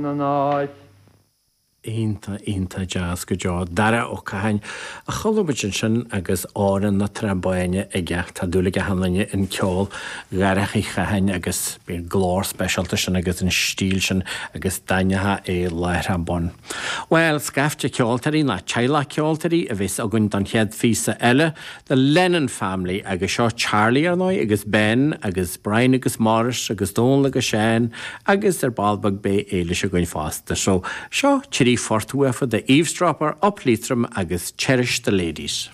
An áit. Iontach, iontach deas go deo. Dara Ó Catháin a chuala muid ansin agus Amhrán na Trá Báine aige. Tá dúil ag achan duine in ceol Dharach Uí Chatháin agus bíonn glór speisialta sin agus an stíl sin agus d'aithneofá é láithreach bonn. Bhuel, scaifte ceoltóirí nó teaghlach ceoltóirí a bheas againn don chéad phíosa eile. The Lennon Family agus seo Charlie ar ndóigh agus Ben agus Brian agus Maurice agus Dónal agus Seán agus ar ball beag beidh Éilis againn fosta. So seo trí phort uafa, The Eavesdropper, Up Leitrim agus Cherish the Ladies.